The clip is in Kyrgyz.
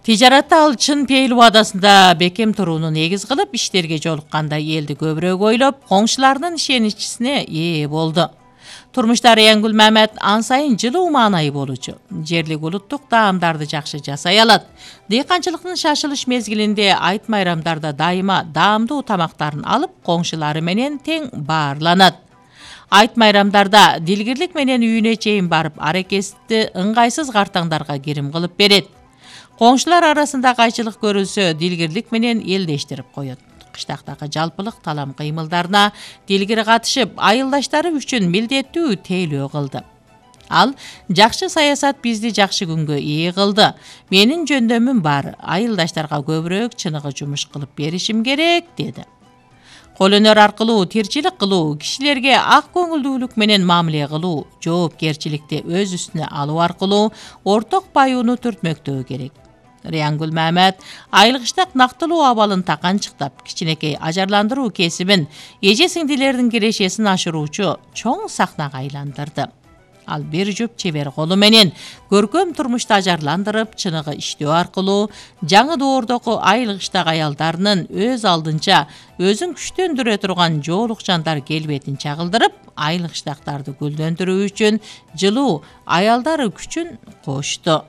Тижаратта ал чын пейил убадасында бекем турууну негиз кылып, иштерге жолукканда элди көбүрөөк ойлоп, коңшуларынын ишеничине ээ болду. Турмушта Рыянгүл Мамет ан сайын жылуу маанайы болчу. Жерлик улуттук даамдарды жакшы жасай алат. Дыйканчылыктын шашылыш мезгилинде айт майрамдарда дайыма даамдуу тамактарын алып, коңшулары менен тең баарланат. Айт майрамдарда дилгирлик менен үйүнө чейин барып, аракетти ыңгайсыз картаңдарга кирим кылып берет. Коңшулар арасында кайчылык көрүлсө, дилгирлик менен элдештирип коет. Кыштактагы жалпылык талам кыймылдарына дилгир катышып, айылдаштары үчүн милдеттүү тейлөө кылды. Ал жакшы саясат бизди жакшы күнгө ээ кылды. Менин жөндөмүм бар, айылдаштарга көбүрөөк чыныгы жумуш кылып беришим керек, деди. Кол өнөр аркылуу тирчилик кылуу, кишилерге ак көңүлдүүлүк менен мамиле кылуу, жоопкерчиликти өз үстүнө алуу аркылуу орток баюуну түртмөктөө керек. Рыянгүл Мамет айылгыштак нактылуу абалын таканчыктап, кичинекей ажарландыруу кесибин, эже сиңдилердин кирешесин ашыруучу чоң сахнага айландырды. Ал бир жуп чебер колу менен көркөм турмушту ажарландырып, чыныгы иштөө аркылуу жаңы доордогу айылгыштак аялдарынын өз алдынча өзүн күчтөндүрө турган жоолук жандар келбетин чагылдырып, айылгыштактарды гүлдөндүрүү үчүн жылуу аялдар күчүн кошту.